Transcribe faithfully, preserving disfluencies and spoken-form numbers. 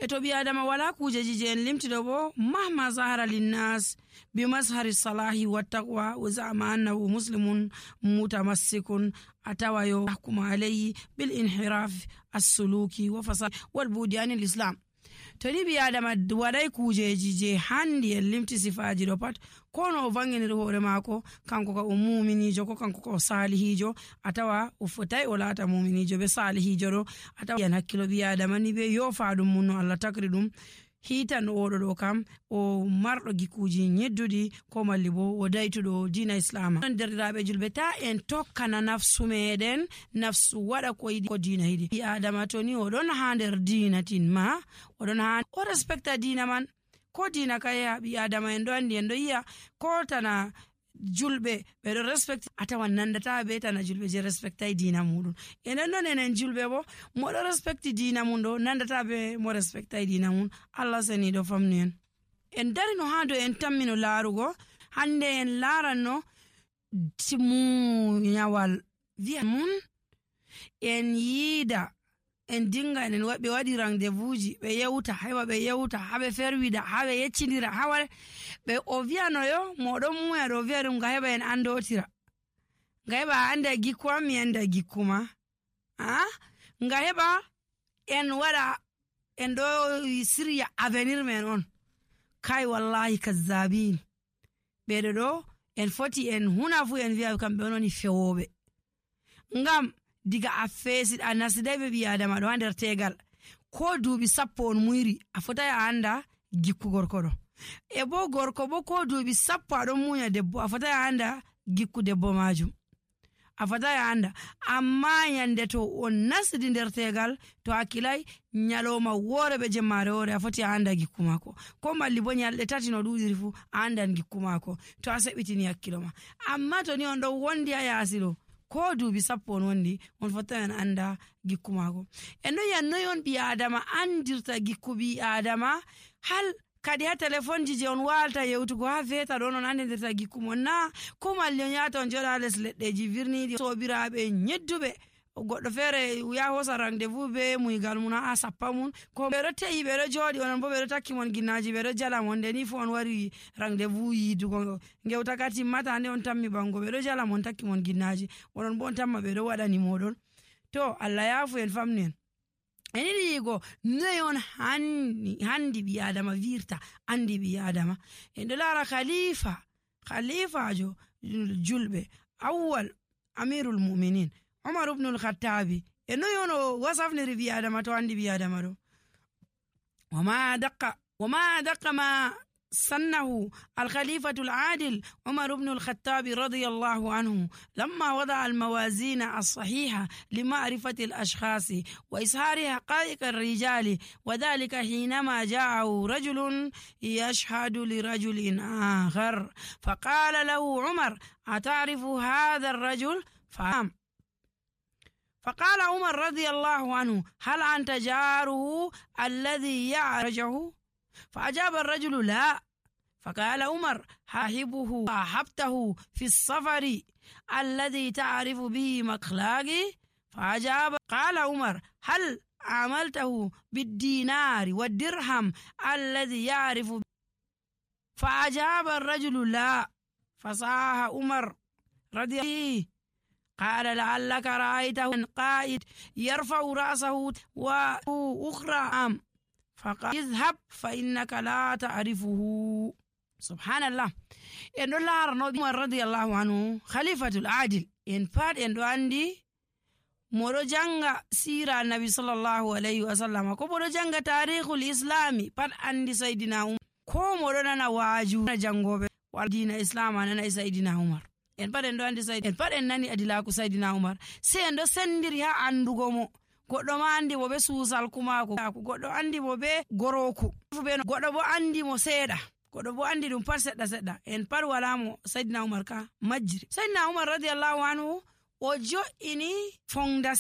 E to ɓii aadama walaa kuujeeji je en limti ɗo bo, mahma zahara linnas bi mazhari salahi wa taqwa wa za'ama annahu muslimun mutamassikun, a tawa yo yahkumu alayhi bil inhiraf assuluki wa fasad wal bu'di anil islam. To ni ɓii aadama waɗay kuujeeji je handi en limti sifaaji ɗo pat, ko no o vanginiri hoore maako, kanko ka o muuminiijo, ko kanko ka o saalihiijo, a tawa o fotay o laata muuminiijo be saalihiijo ɗo. A tawa yan hakkilo ɓii aadama ni be yoofa ɗum mun no Allah takri ɗum. Hiitan oɗo ɗo kam o marɗo gikkuuji nyedduɗi, ko malli bo o daytuɗo diina islaama. Non derɗiraaɓe julɓe, ta en tokkana nafsu meɗen, nafsu waɗa ko yiɗi, ko diina yiɗi. Ɓii aadama to ni o ɗon haa nder diina tin ma, o ɗon haa o respecta diina man. Ko diina ka yeha ɓii aadama, en ɗo andi, en ɗo yi'a ko tana julɓe ɓe ɗo respecti, a tawan nandata be tana julɓe je respectay diina muɗum. Enen non enen julɓe bo, mo ɗo respecti diina mum ɗo nandata be mo respectay diina mum. Allah seniiɗo famnu en. En darino haa dow en tammino laarugo, hande en laaranno timunyawal wi'a mun, en yiida, en dinga, en wa-, ɓe waɗi rendez-vous ji, ɓe yewta, heɓa ɓe yewta, haa ɓe ferwida, haa ɓe yeccindira, haa waɗa, ɓe o wi'anoyo, mo ɗon muya ɗo o wi'a ɗum, nga heɓa en andotira. Nga heɓa a anda gikku am, mi anda gikku ma. Ah? Nga heɓa en waɗa, en ɗo sirya avenir men on. Kai wallahi kazzabin. Ɓeɗo ɗo, en foti en huna fu en wi'a kamɓe on woni fewooɓe. Ngam diga a feesi, a nasiday be ɓii aadama ɗo haa nder teegal, ko duuɓi sappo on muyri, a fotai a anda gikku gorko ɗo. E bo gorko bo ko duuɓi sappo aɗon munya debbo, a fotai a anda gikku debbo majum. A fotai a anda. Amma nyande to on nasidi nder teegal, to a kilai, nyaloma woore be jemmaare woore, a foti a anda gikku maako. Ko malli bo nyalɗe tati no ɗuuɗiri fu, a andan gikku maako. To a seɓitini hakkilo ma. Amma to ni on ɗon wondi haa yaasi ɗo, ko duuɓi sappo on wondi, on fotai on anda gikku maako. En ɗon yi'a noy on ɓii aadama andirta gikku ɓii aadama, hal kadi haa telefonji je on waalata yewtugo haa veta ɗon on andindirta gikku mon na? Ko malli on yahata on jooɗa haa les leɗɗeji virniiɗi, soobiraaɓe nyedduɓe. Goɗɗo feere yaha hoosa rendez-vous be muygal mum haa sappa mum. Ko ɓe ɗo te'i, ɓe ɗo jooɗi, onon bo ɓe ɗo takki mon ginnaaji, ɓe ɗo jala mon. Nde ni fu on wari rendez-vous yiidugo ngewta ka timmata, nde on tammi ɓango, ɓe ɗo jala mon, takki mon ginnaaji. Onon bo on tamma ɓe ɗo waɗani moɗon. To, Allah yaafu en, famnu en. En yiɗi yi'ugo noy on hanni, handi ɓii aadama wirta, andi ɓii aadama. En ɗo laara khalifa, khalifajo julɓe, awwal amirul mu'minin, Umar ibnul Khattabi. E noy on o wasafniri ɓii aadama to andi ɓii aadama ɗo? وما أدق، وما أدق ما سنه الخليفة العادل عمر بن الخطاب رضي الله عنه لما وضع الموازين الصحيحة لمعرفة الأشخاص وإظهار حقائق الرجال، وذلك حينما جاءه رجل يشهد لرجل آخر، فقال له عمر: "أتعرف هذا الرجل؟" فقال فقال عمر رضي الله عنه: "هل أنت جاره الذي يعرجه؟" فأجاب الرجل: "لا." فقال عمر: "صاحبه صاحبته في السفر الذي تعرف به مخلاقي؟" فأجاب، قال عمر: "هل عاملته بالدينار والدرهم الذي يعرف؟" فأجاب الرجل: "لا." فصاح عمر رضي الله عنه، قال: "لعلك رأيته قائد يرفع رأسه وأخرى أم؟" فقال: "اذهب فإنك لا تعرفه." سبحان الله. En ɗo laarano Umar radiyallahu anhu, khalifatul adil. En pat en ɗo andi mo ɗo janga siira Annabi sallallahu alayhi wa sallam, ko mo ɗo janga taarihul Islami, pat andi Sayyidina Umar. Ko mo ɗo nana waaju na jangoɓe wal diina Islam a nana e Sayyidina Umar. En pat en ɗo andi Sayyid-, en pat en nani adilaaku Sayyidina Umar. Sey en ɗo sendiri haa andugo mo. Goɗɗo ma andi mo be suusal kumaako. Goɗɗo andi mo be gorooku. Goɗɗo bo andi mo seeɗa. Goɗɗo bo andi ɗum pat seɗɗa seɗɗa. En pat wala mo Sayyidina Umar ka majjiri. Sayyidina Umar radiyallahu anhu o jo'ini fondation